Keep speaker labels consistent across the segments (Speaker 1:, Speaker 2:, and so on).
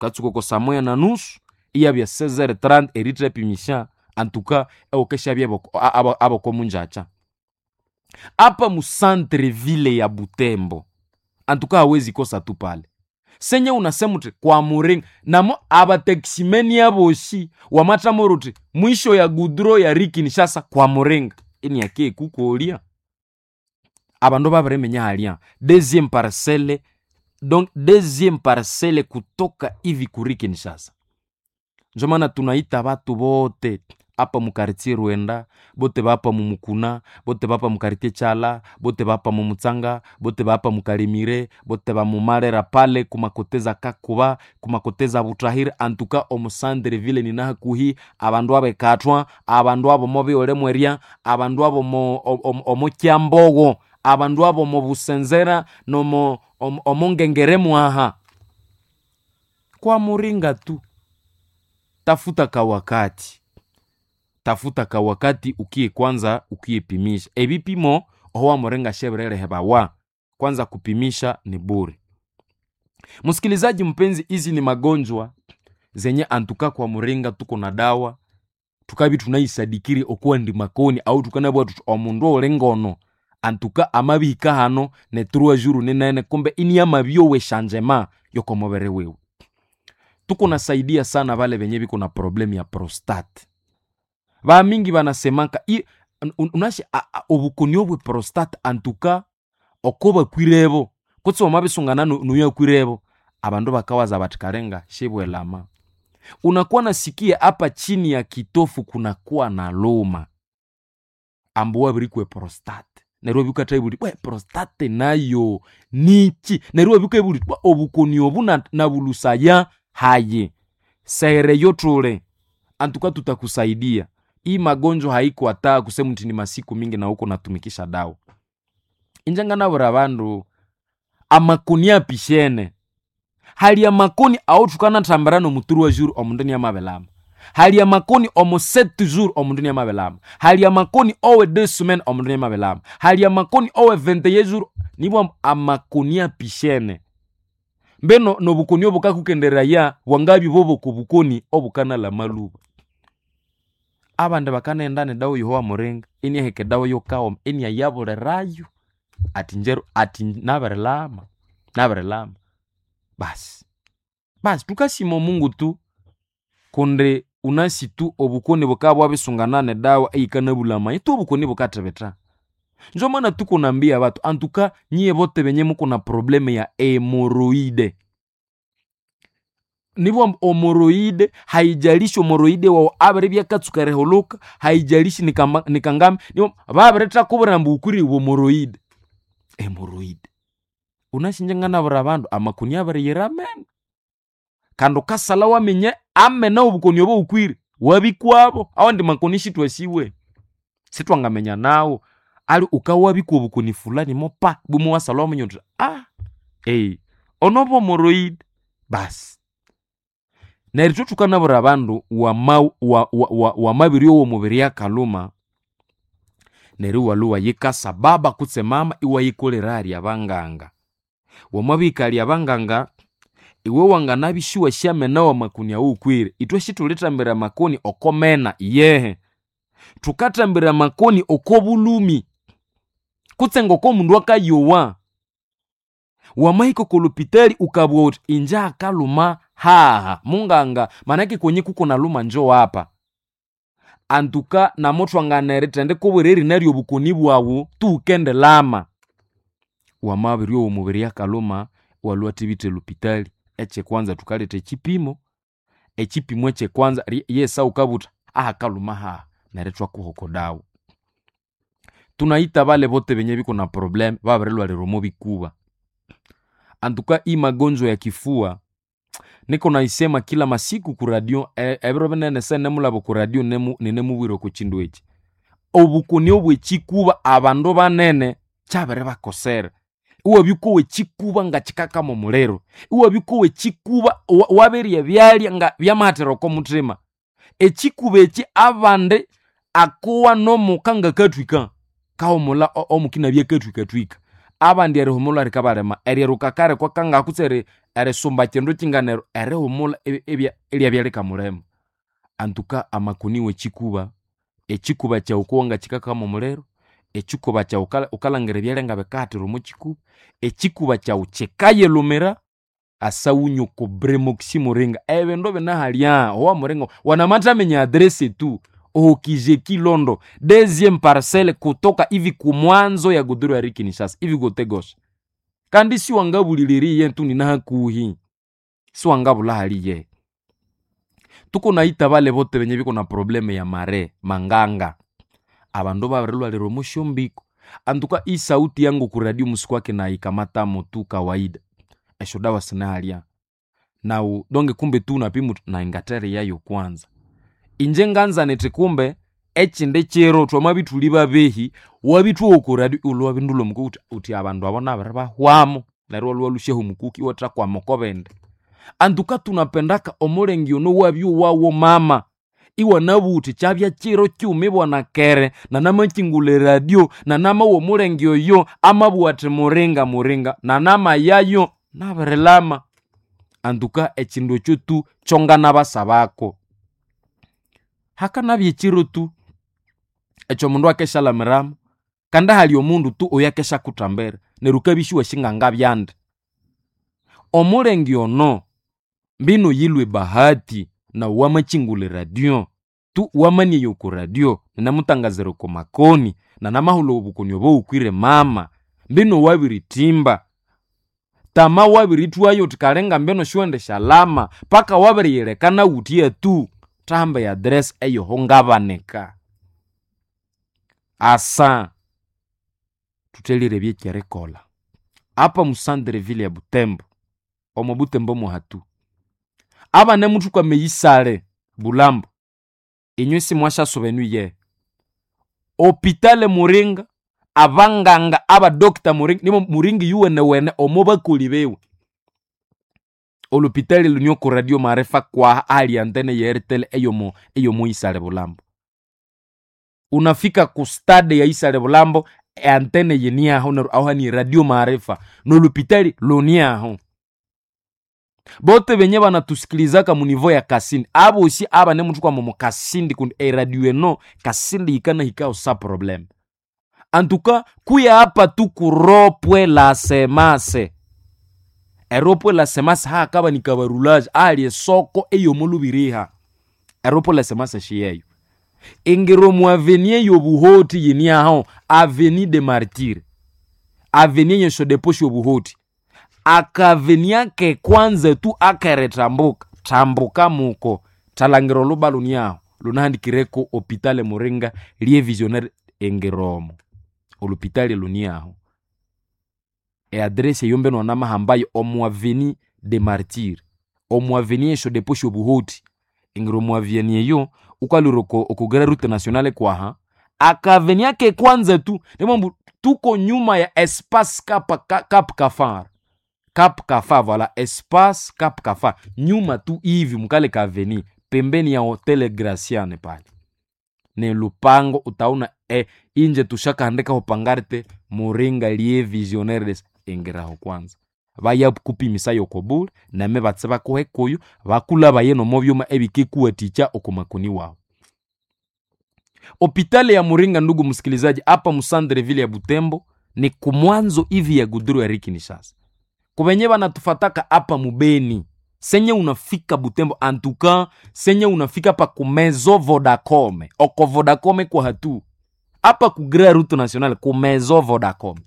Speaker 1: Katsuka oko saa moya na nusu iyabya 16h30 erithapimisha antuka ewukeshabya aboko munjakya. Apa mu centre ville ya Butembo antuka hawezi kosa tu pale. Senye unasema uti kwa Muringa namo abataksimeni aboshi wamathamora uti mwisho ya gudro ya Kinshasa kwa Muringa iniake kukolya abandu babiriminya halya deuxième parcelle, donc deuxième parcelle kutoka hivi kuri Kinshasa. Njo maana tunaita batu bote apa mukartie Rwenda, bote bapa mumukuna, bote bapa mukartie Chala, bote bapa mumutsanga, bote bapa mukarimire, bote bamumarera pale kumakoteza Kakuba, kumakoteza Butahiri, antuka omusandre ville ni nahakuhi abandu abekatwa, abandu abo mobiole mweria, abandu abo omo Kyambogo, abandu abo mo Busenzera nomo omo Ngengere mwaha. Kwa Muringa tu tafuta kawakati, tafuta kawakati ukiye kwanza ukiyepimisha ebipimo owa Muringa sheberere bawa kwanza kupimisha ni bure. Msikilizaji mpenzi, hizi ni magonjwa zenye antuka kwa Muringa tuko na dawa tukabi tunaisadikiri okuwa ndi makoni au tukanabwa tuti omundu ole ngono antuka amabihika hano ne trois jours ninene kumbe ini amabyowe shanjema yokomobere wewe. Tuko nasaidia sana vale venye biko na problemu ya prostate. Bamingi banasemaka unashi obukoni obwe prostate antuka oko bakwirebo kutse wamabisungana nuyo akwirebo abandu bakawaza bati karenga shibwelama. Unakuwa nasikia hapa chini ya kitofu kunakuwa na luma ambu wabirikwe prostate neryo bikathaibuli bwe prostate nayo niki neryo bikaibuli bwa obukoni obu nabulusaya haye sere yotule antuka tutakusaidia. Hii magonjwa haiko hata kusema mti ni masiku mingi na huko natumikisha dawa injanga nabura bandu amakoni apishene hali ya makoni aothukana thambira nomuturu wa juru omundu ni amabelama hali ya makoni omo 7 jours omundu ni amabelama hali ya makoni owe 2 semaines omundu ni amabelama hali ya makoni owe 21 jours nibwa amakoni apishene mbeno nobukoni obukakukenderaya bwangabi boboko bukoni obukana maluba. Abandi bakanenda nedawa yowa Muringa iniheka edawa yokaoma iniyayabulirayo ati njeru ati nabirilama nabirilama basi basi tukasima Mungu tu kundi unasi tu obukoni bukabya bwabisungana nedawa eyikanabulama itu obukoni bukathibitha. Njo maana tukunambia batu antuka nyiye bote benye muko na probleme ya hemoroide nibwo omoroide haijalishi omoroide wawu abiri byakatsuka erihuluka haijalishi nikangami nibwo babiritthakubwira ambu wukwire omoroide hemoroide unashinje nganabwira abandu amakoni abiriyira amene kandi wukasalha waminya amene obukoni obo wukwire wabikwabo awandi makoni sithwasiwe sithwangamenya nawu ali wukawabikwa obukoni fulani mopa bumwe wasalha waminya wuthi ah ono omoroide basi. Neryo ithwe thukanabwira abandu wamabiryowa omubiri akalhuma neryo iwalhwa iwayikasa baba kutse mama iwayikolera ahali abanganga. Wamabihika abanganga iwe wanganabya isiwasyamena wamakoni awukwire. Ithwe sithulithambira amakoni oko mena iyehe, thukathambira amakoni oko bulhumi kutse ngoko mundu akayowa. Wamahika oko lupitali ukabugha wuthi inje hakalhuma haha munganga manake kwenye kuko nalhuma njo hapa. Antuka namuthwangana erithendikubwira erina ryobukoni bwawu tuwukendilama. Wamabiryowa omubiri akalhuma iwalhwa iwathibitha elupitali ekyekwanza thukaletha ekyipimo, ekyipimo ekyekwanza yesa wukabugha wuthi ahakalhuma haha neryo ithwakuha oko dawa. Tunayita bale bote benye biko na probleme babirilhwalira omo bikuba. Antuka hii magonjwa ya kifua niko naisema kila masiku ku radio ebiro binene senemulaba oku radio ninemubwira oko kindu eki. Obukoni obwekikuba abandu banene kyabiribakosera. Iwabya wukowa ekikuba ngakikakama omuliro, iwabya wukowa ekikuba wabirya ebyalya nga byamahathira oko muthima. Ekikuba eki abandi akowa nomuka ngakathwika kahumulha omuka inabya akathwikathwika. Abandi erihumulha likabalema, eryeruka kare kwakanga kutse erisumba kindu kinganero erihumulha iryabya likamulema. Antuka amakoni w'ekikuba, ekikuba kyawu kuwangakikakamo omuliro, ekikuba kyawu wukalhangira ebyalya ngabikahathira omo kikuba, ekikuba kyawu kikayilhumira asawunye oko Bremoxi Muringa. Ebindu binahalya owa Muringa wanamathaminya address tu ohokizeki Londo deuxième parcelle kutoka hivi kumwanzo ya godoro ya Kinshasa hivi gote gauche. Kandi siwangabuliliriye tu ninahakuhi, siwangabula haliye. Tukunaita bale bote benye biko na problème ya mare manganga, abandu babirilwalira omo syombiko. Antuka isauti yangu ku radio musikwake naikamatamo tu kawaida, esyodawa sinahalya nawu donge kumbe tu unapima uthi naingatheriyayo kwanza. Inje nganza nithi kumbe ekindi kiro twamabya ithuli babehi wabithuwa oko radio iwulwe wabindulha omukuku uthi abandu abo nabiribahwamu neryo iwalhwa iwalhusyaho omukuki iwathakwama oko bindi. Antuka tunapendaka omulenge ono wabya owawo mama, iwanabugha uthi kyabya kiro kighuma ibwana kere nanamakingulha eradio nanamowa omulenge oyo amabugha athi muringa muringa nanamayayo nabirilama. Antuka ekindu ekyo tu kyonganabasabako. Hakanabya ekiro tu ekyomundu akesyalamiramu kandi hali omundu tu oyakesyakuthambira neryo wukabya isiwasi ngangabyandi. Omulenge ono mbino yilwe bahati nawu wamakingulha eradio tu wamaniaya oko radio ninamutangazira oko makoni nanamahulha obukoni obo wukwire mama mbino wabirithimba tama wabirithwayo uthi kalinga mbino siwendishalama paka wabiriyilekana wutya tu thahamba e address eyoho ngabanika. Asa thuthelire eby'ekyerikolha apa mu centre ville ya Butembo, omo Butembo muhatu, abanemuthukwama eyisale Bulambo, inywe simwasyasuba enu iyehe. Hopitale Muringa, abanganga abadokita Muringa nibo Muringa iyuwenewene omo bakoli biwe. Olhupitali lune oko radio maarifa kwaha ahali antene ye Airtel eyomo eyomo Isale Bulambo. Unafika ku stade ya Isale Bulambo eantene yiniaho neryo aho hani radio maarifa nolhupitali luniaho. Bote benye banatusikilizaka mu niveau ya Kasindi, abosi abanemuthukwama omo Kasindi kundi eradio eno Kasindi yikanahikaho sa problème. Antuka kuya apa tu kuropwe la semase, eropwe la semase hakabanika barulaje ahali esoko eyomolubiriha, eropwe la semase shiyeyo. Ingiro omu avenue y'obuhoti yiniaho, avenue de martyrs, avenue yesyodepo syobuhoti, akaveni ake kwanza tu akerithambuka, thambuka muko thalangira olhuba luniaho lunahandikireko hopitale Muringa lye visionnaire engiromo, olhupitali luniaho. E address eyo mbenu wanamahambayo omu avenue de martyrs, omu avenue yesyodepo syobuhoti, ingira omu avenue eyo wukalhwira oko grand route nationale kwaha, akaveni ake kwanza tu nimwambu tuko nyuma ya espace Cap Kafar, Cap Kafar voilà, espace Cap Kafar, nyuma tu hivi mukale ka avenue pembeni ya Hotel Graciane pale ni lupango utaona inje tushakahandikaho pangarte Muringa lie visionnaire des ingiraho kwanza vayakupimisa yoko bule name batse bakuhe kuyo bakulabaye nomo byuma ebikikuwathikya oko makoni wawu. Hopitali ya Muringa, ndugu msikilizaji, hapa mu centre ville ya Butembo ni kumwanzo hivi ya guduru ya Kinshasa. Kubenye banatufataka hapa mubeni senye unafika Butembo antuka senye unafika pa kumezo Vodacom oko Vodacom kwa hatu hapa ku Grand Route Nationale kumezo Vodacom.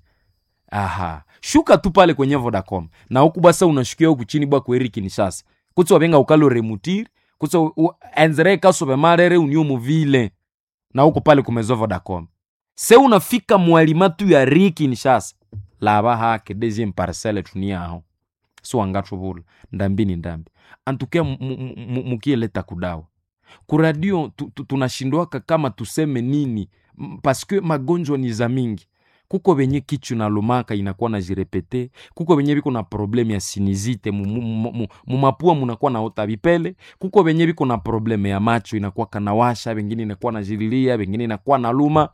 Speaker 1: Aha, shuka tu pale kwenye Vodacom na huku basa unashukia huku chini bwa kweri Kinshasa kutsi wabenga ukalo remutiri kutsi enzere kasobe marere unio muvile na huko pale kumezo Vodacom. Se unafika mwalimatu ya ri Kinshasa laba hake deuxième parcelle tuniaho so wangathubula ndambi ni ndambi antukia mukieleta kudawa kuradio tunashindwaka kama tuseme nini paske magonjwa ni za mingi kuko benye kichu na lumaka inakuwa na jirepete kuko benye biko na probleme ya sinizite mumapua munakuwa na ota vipele kuko benye biko na probleme ya macho inakuwa kanawasha bengine inakuwa na jililia bengine inakuwa na luma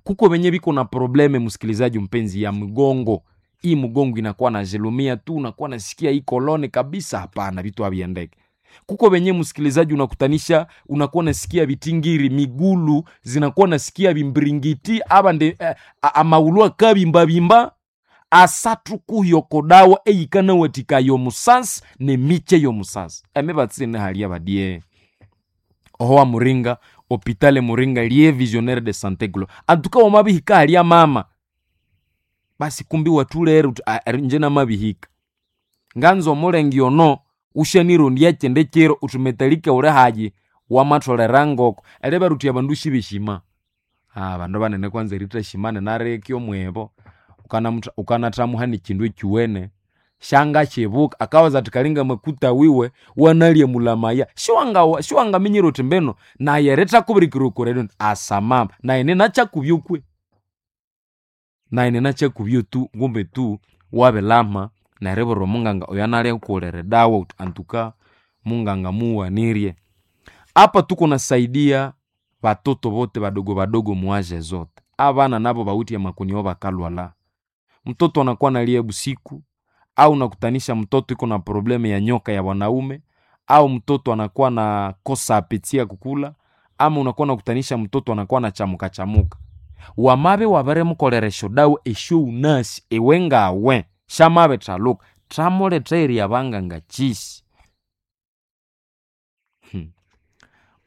Speaker 1: kuko benye biko na probleme msikilizaji mpenzi ya mgongo. Hii mugongo inakuwa na jelumia tu, unakuwa nasikia hii colonne kabisa. Hapana, vitu haviendeki. Kuko venye msikilizaji, unakutanisha unakuwa nasikia vitingiri migulu zinakuwa nasikia vimbiringiti aba nde amaulwa kabimbabimba asathukuhyokodawa eyikanawathika yomusasi nemiche yomusasi emibatsine halia badie oho wa muringa hopitale muringa lie visionnaire de santé glo antuka wamabihika halia mama basi kumbi watulere uti nje namabihika nganza omulengi ono ushanirondya kyende kiro uthumetalike uli hayi wamatholera ngoko eribera uthi abandu shibeshima. Abandu banene kwanza erithashimana nareke omwebo ukanathamuha nekindu ekyuwene shangakyibuka akawaza athi kalinga makuta wiwe wanalya mulamaya shiwangaminyira uthi mbino naye erithakubirikira okoredo asamama naye ninakyakubya kwe naye ninakyakubya tu ngumbe tu wabilama neribwira omunganga oyo analyakukolera edawa uthi antuka munganga muwanirye. Apa tuko nasaidia batoto bote badogo badogo muaje zote abana nabo bawithe amakoni ao bakalwala. Mtoto anakuwa nalia busiku au nakutanisha mtoto iko na problemu ya nyoka ya wanaume au mtoto anakuwa na kosa apeti ya kukula ama unakuwa nakutanisha mtoto anakuwa na chamuka chamuka wamabe wabiremukolera esyodawa esyoghunasi iwe ngawe syamabithaluka thamuletha eryabanganga kyisi.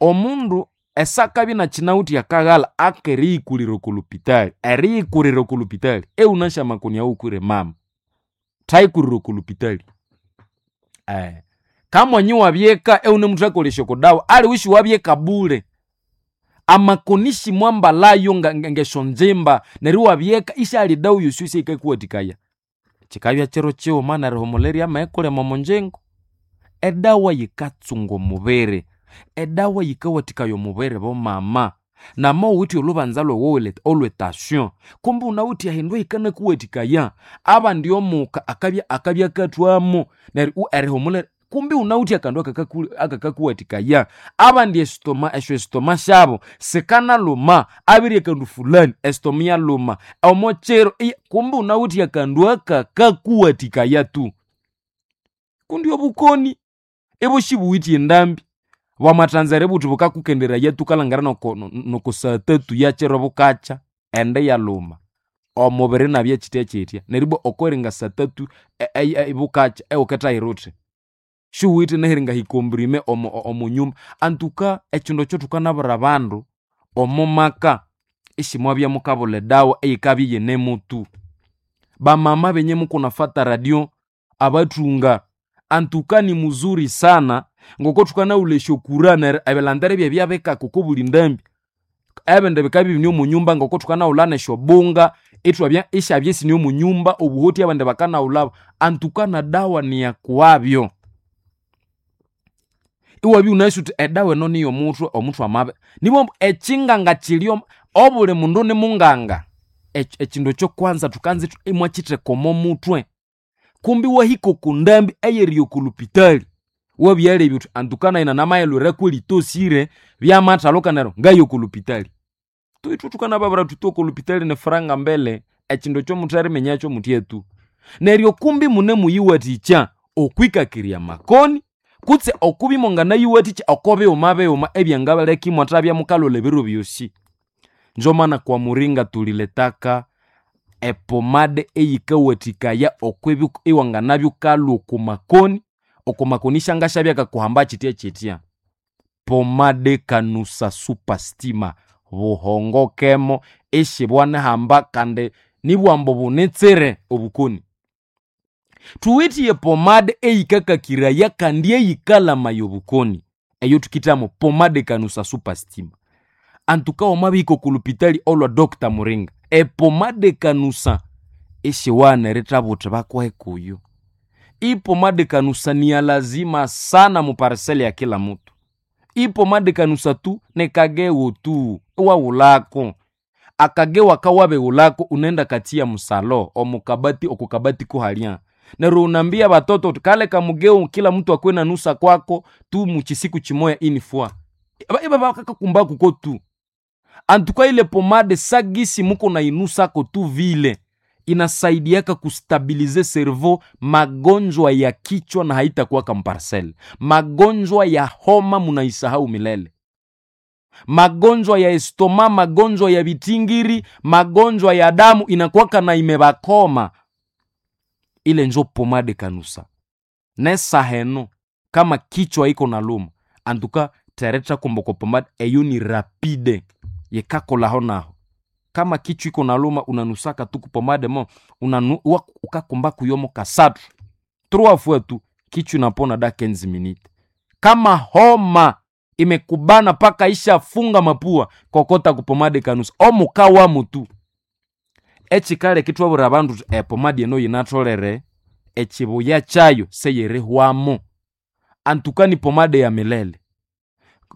Speaker 1: Omundu esakabya inakyinawithe akaghalha akeriyikulira oko lupitali eriyikulira oko lupitali eghunasi amakoni awukwire mama thayikulira oko lupitali. Kamwanyi wabyeka ewunemuthakolesya oko dawa aliwe isiwabyeka bule amakoni simwambalayo ngesyonzimba neryo iwabyeka isyali dawa yosi yosi eyikakuwathikaya. Kyikabya kiro kighuma nerihumulha amayikulema omonjingo. Edawa yikatsunga omubiri, edawa yikawathikaya omubiri bomama nama owithe olhubanza lhwawu olwetasyon kumbe wunawithe ehindu ehikanakuwathikaya abandi omuka akabya akabya akathwamo neryo erihumulha kumbe wunawithe akandu akakakuwathikaya abandi esitoma esyo esitoma syabo sikanalhuma abirya akandu fulani esitoma iyalhuma omokyiro kumbe wunawithe akandu akakakuwathikaya tu. Kundi obukoni ibushibuwithe endambi bwamathanza eributhi bukakukenderaya thukalhangira noko saa tatu yakyiro bukakya ende iyalhuma omubiri inabya kyithya kyithya neryo ibwa okweringa saa tatu bukakya iwukithahira uthi siwuwithe neheringa hikomprime omo nyumba. Antuka ekyindu ekyo thukanabwira abandu omo maka isimwabya mukabulha edawa eyikabya iyinemutu. Bamama benye mukunafata radio abathunga antuka ni muzuri sana ngoko thukanawulha esyokura neryo ebilhandiro ebyebya oko buli ndambi ebindi bikabya ibine omo nyumba ngoko thukanawulha nesyobunga ithwabya isyabya isine omo nyumba obuhoti abandi bakanawulhabo antuka nedawa niyakuwabyo. Iwabya iwunasi wuthi edawa eno niyomuthwe omuthwe amabi nibwambu ekyinganga kyiri obuli mundu nimunganga ekyindu ekyokwanza thukanza imwakyitheka omo muthwe kumbi iwahika oko ndambi eyeriya oko lupitali wabyalebya wuthi antuka nayi nanamayilhwira kwelitosire byamathaluka neryo ngaya oko lupitali. Ithwe thukanababwira thuthi oko lupitali nifuranga mbele ekyindu ekyomuthariminyakyo muthya tu. Neryo kumbi munemuyiwathikya okwikakirya amakoni kutse okubya imwanganayiwathikya oko bighuma bighuma ebyangabaleka imwathabya mukalhwalha ebiro byosi. Njo maana kwa muringa thuliletaka epomade eyikawathikaya okwibya iwanganabya wukalhwa oko makoni, oko makoni isyangasyabya akakuhamba kyithya kyithya. Pomade kanusa super stima buhongokemo isibwanihamba kandi nibwambu bunitsire obukoni. Thuwithe epomade eyikakakiraya kandi eyikalamaya obukoni eyo thukithamo pomade kanusa super stima. Antuka wamabihika oko lupitali olwa Dr. Muringa epomade kanusa isiwana erithabwa wuthi bakuhe kuyo. Ipomade kanusa ni ya lazima sana muparisele ya kila mutu. Ipomade kanusa tu nikagegho tu iwaghulhako akagegho akawabighulhako unaenda kathia musalo omukabati okukabati kuhalya neryo unambia batoto uthi kale kamugegho kila mtu akwe na nusa kwako tu muchisiku chimoya inifwa ibabakakakumbakuko tu antuka ile pomade sagisi muko nainusako tu vile. Inasaidiaka kustabilize cerveau, magonjwa ya kichwa na haitakuwaka mparcele. Magonjwa ya homa munaisahau milele, magonjwa ya estoma, magonjwa ya vitingiri, magonjwa ya damu inakuwaka na imebakoma. Ile njo pomade kanusa nesaheno kama kichwa iko na luma antuka tereta kumboko pomade eyo ni rapide yekakolaho naho. Kama kichwa iko na luma unanusaka tu kupomade mo unanu, ukakumba kuyomo kasatu trois fois tu kichwa inapona da 15 minutes. Kama homa imekubana paka isha funga mapua, kokota kupomade kanusa omukawamu tu echikale kitwabura abandu epomade eno yinatolere echibuya chayo seyerehwamo antuka ni pomade ya milele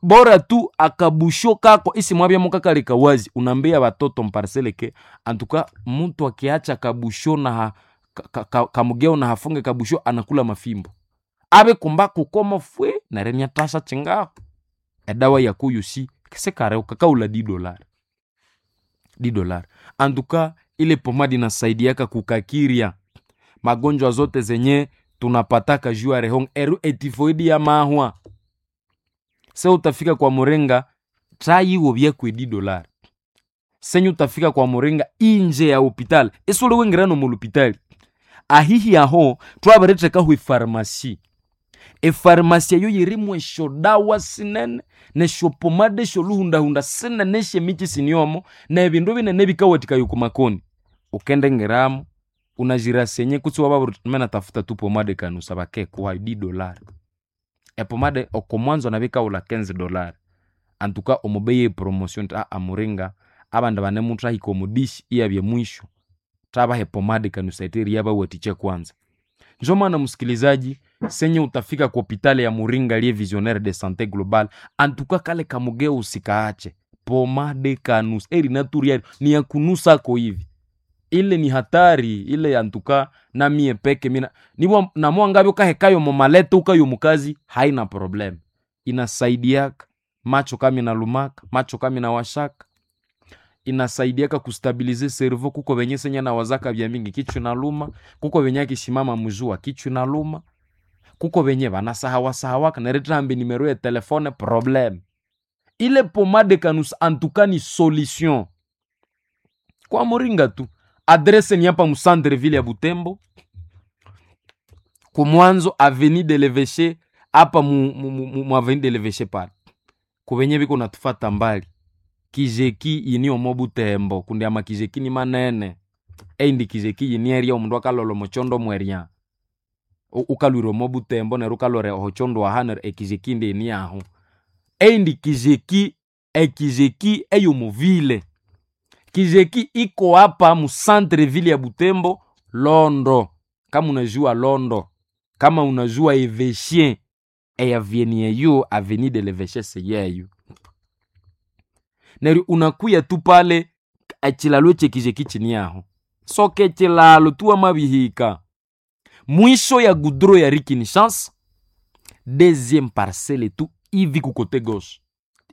Speaker 1: bora tu akabusho kako isimwabya mukakaleka wazi unambia batoto mparseleke antuka mtu akiacha kabusho na ha, ka, ka, kamugeo na hafunge kabusho anakula mafimbo abe kumba kukoma fwe nerenya tasha chingaho edawa yakuyusi kisekare ukakaula di dolari di dolari antuka ile pomadi inasaidiaka kukakiria magonjwa zote zenye tunapataka juu ya rehong eru etifoidi ya mahwa se utafika kwa murenga trayiwo byakwe di dolari senye utafika kwa murenga inje ya hopitali isuli wingirano mulupitali ahihi aho twabiritekaho efarmasi efarmasi eyo yirimu esyodawa sinene neshopomade esyoluhundahunda sinene esyemiki siniomo nebindu binene bikawathikaya oku makoni ukendengeramu unajirasenye kutsi wababiri mena tafuta tu pomade kanusa bakekuhayo di dolari epomade okomwanzo nabikaghulha 15 dolari antuka omubeyi epromotion nti aa muringa abandu banemuthahika omudishi iyabya mwisho thabaha epomade kanusa ete eriyabawathikya kwanza. Njo maana msikilizaji, senye utafika ku hopitali ya Muringa liye Visionnaire de Sante Global, antuka kale kamugeo usikaache pomade kanusa eri naturiari ni ya kunusako hivi ile ni hatari ile antuka namie peke mina niwa namwangabyo kahekayo mumalete ukayo mukazi haina problem inasaidiaka macho kama inalumaka macho kama inawashaka inasaidiaka kustabilize cerveau kuko venye senya na wazaka vya mingi kichwa inaluma kuko venye akishimama mjua kichwa inaluma kuko venye vanasahawasahawaka neretambi nimero ya telefone problem ile pomade kanus antuka ni solution kwa moringa tu adrese ni hapa musantre ville ya Butembo kumwanzo avenue de l'Evêché hapa mu, mu, mu, mu avenue de l'Evêché pale kuvenye biko natufata mbali kijeki ini omo Butembo kundi ama kijeki ni manene eindi kijeki yini eria omundu akalolo mochondo mweria ukalwire omo Butembo neryo ukalore ohochondo aha neryo ekijeki ndi ini aho eindi kijeki ekijeki eyomuvile kijeki iko hapa mu centre ville ya Butembo Londo. Kama unajua Londo, kama unajua Evêché eyavieni eyo avenue de l'Evêché seyeyo neryo unakuya tu pale echilalo echekijeki chini aho soke chilalo tu amabihika mwisho ya gudro ya Rikini Chance deuxième parcelle tu hivi kukote gauche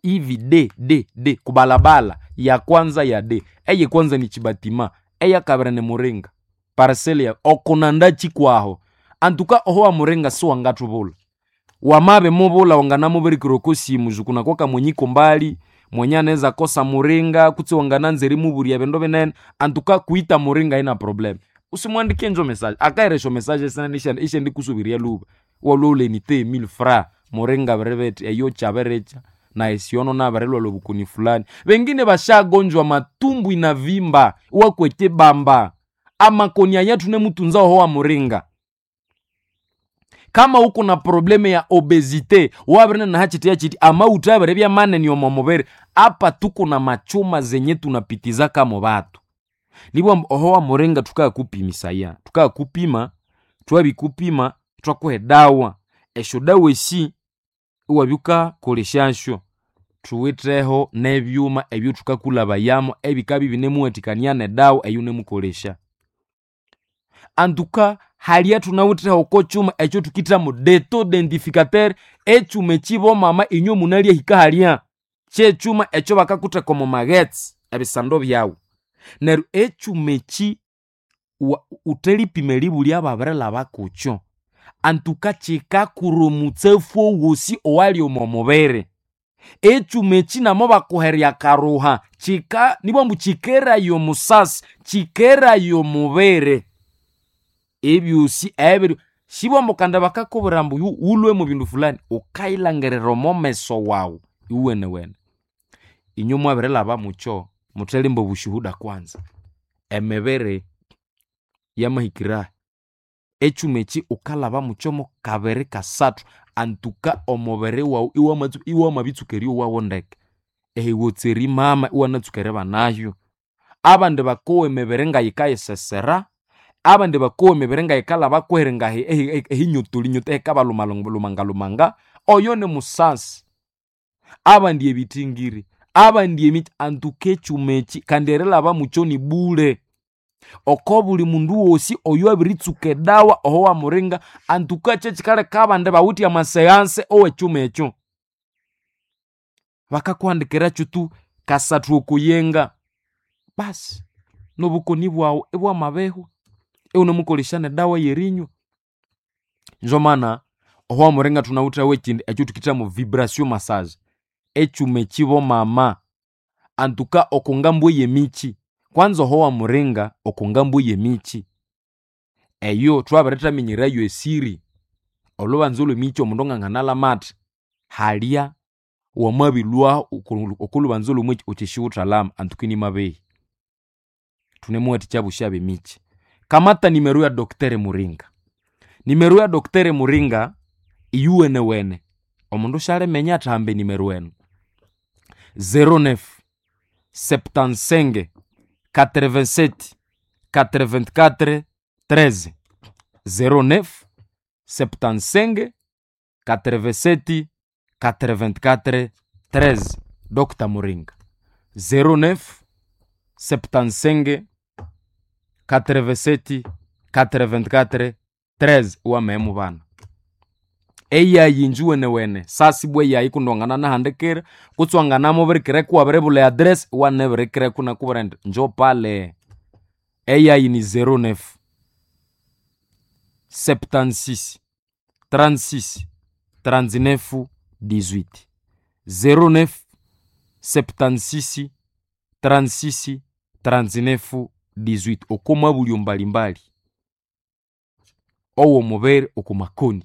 Speaker 1: hivi d d d kubalabala ya kwanza ya d eye kwanza ni chibatima eya kabira ne muringa parcelle ya okonanda chikwaho antuka oho wa muringa si wangatubula wamabe mubula wanganamubirikira okosimu zukunakwaka mwenyiko mbali mwenye anaweza kosa muringa kutsi wangananzeri muburia bindu binene antuka kuita muringa ina problem usimwandikie njo message akairesho message sana ishe ishe ndikusubiria luba waloulenite 1000 francs muringa berebeti eyo chaberecha na esiono nabarelwa lobukuni fulani wengine bashagonjwa matumbu inavimba wakwete bamba amakoni ayatu nemutunza oho wa muringa kama uko na probleme ya obesite wabirina na hachiti yachiti ama utabere bya manene omo mubere apa tuko na machuma zenye tunapitizaka mo batu nibwo oho wa muringa tukakupimisaya tukakupima twabikupima twakuha edawa esyo dawa esi iwabyukakolesyansyo thuwitheho nebyuma ebyo thukakulhabayamo ebikabya ibinemuwathikania nedawa eyunemukolesya antuka halya thunawitheho oko kyuma ekyo thukithamu deto identificateur ekyuma ekibomama inywe munalyahika halya kyekyuma ekyo bakakutheka omo maghetse ebisando byawu neryo ekyuma eki Uthelipima eribulya babirilhaba kukyo. Antuka kikakura omutsafu owosi owali omo mubiri. Ekyuma eki namo bakuherya akaruha kika nibwambu kikeraya omusasi, kikeraya omubiri. Ebyosi ebiri sibwambu kandi bakakubwira ambu wulhwe mu bindu fulani, wukayilhangirira omo meso wawu iwenewene. Inywe mwabirilhaba mukyo, muthelimba obushuhuda kwanza. Emibiri yamahikirahi, ekyuma eki wukalhaba mukyo mukabiri kasathu antuka omubiri wawu iwamabitsuka eryowawo ndeke. Ehiwotsa erimama iwanatsuka eribanayo. Abandi bakowa emibiri ngayikayisesera, abandi bakowa emibiri ngayikalhaba kweheri ehinyotolinyotoli ehikabalumalumanga oyo nimusasi. Abandi ebithingiri, abandi emiti, antuka ekyuma eki kandi erilhaba mukyo ni bule. Oko buli mundu wosi oyowabiritsuka edawa oho wamuringa antuka kyekikaleka abandi bawithe amaseanse owekyuma ekyo. Bakakuhandikira tu kasathu okoyenga basi nobukoni bwawu ibwamabihwa iwunemukolesya nedawa yerinywa. Nzomana oho wamuringa thunawitheho ekindi ekyathukithamu vibration massage. Ekyuma eki bomama antuka oko ngambu eyemikyi, kwanza oho wamuringa oko ngambu eyemikyi, eyo thwabirithaminyirayo esiri. Olhubanza olwemikyi omundu nganganalhama athi, halya wamabilhwahu oko lhubanza olwomukyi wuthi siwuthalhama antuka inimabehi. Thunemuwathikya abosi abemikyi. Kamata nimero ya Dr Muringa. Nimero ya Dr Muringa iyuwenewene, omundu syaliminya athi hamba enimero enu. 09 75 87 84 13 09 75 87 84 13 Dr Muringa. 09 75 87 84 13 wamehemu bana. Eyayi injuwenewene sasibwa eyayi kundi wanganahandikira kutse wanganamubirikiraku wabiribulha eaddress iwanabirikiraku inakubwira indi njo pale. Eyayi ni 09 76 36 39 18 09 76 36 39 18 oko mwabulyo mbalimbali owo mubere oko makoni.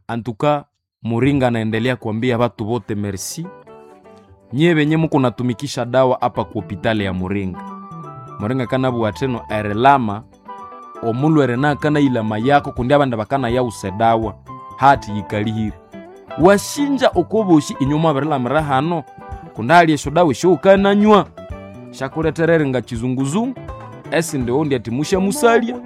Speaker 1: Antuka Muringa anaendelea kuambia watu wote merci. Nyie benye muko natumikisha dawa hapa ku hopitali ya Muringa. Muringa kanabugha athino erilama omulwere nakanayilama yako kundi abandi bakanayawusa edawa hati yikalihire. Wasinja okobosi inywe mwabirilamira hano kundi hali esyo dawa esyowukananywa syakuletherere eringa kizunguzungu, esindi owundi athi musyamusalya,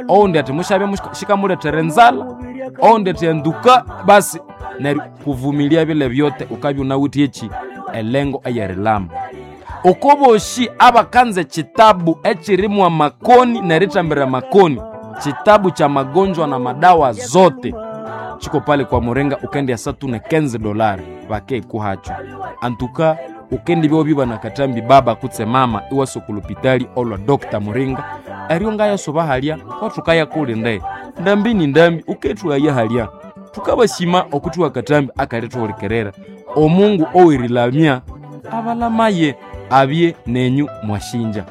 Speaker 1: owundi athi musyabya sikamuletera enzalha, owundi athi enduka basi neryo kuvumilia bile byote wukabya wunawithe eki elengo eyerilama. Okobosi abakanza ekitabu ekirimu amakoni nerithambira amakoni, kitabu cha magonjwa na madawa zote chiko pale kwa Muringa ukendya satu ne $15 bakekuhacho. Antuka ukendibya obiba nakatambi baba kutse mama iwasa okulupitali olwa Dr Muringa eryo ngayasoba halya kwathukaya kulinde ndambi ni ndambi ukethughaya halya. Thukabasima okuthuha akatambi akalethuhulikirira. Omungu owerilamya abalamaye abye nenyu mwashinja.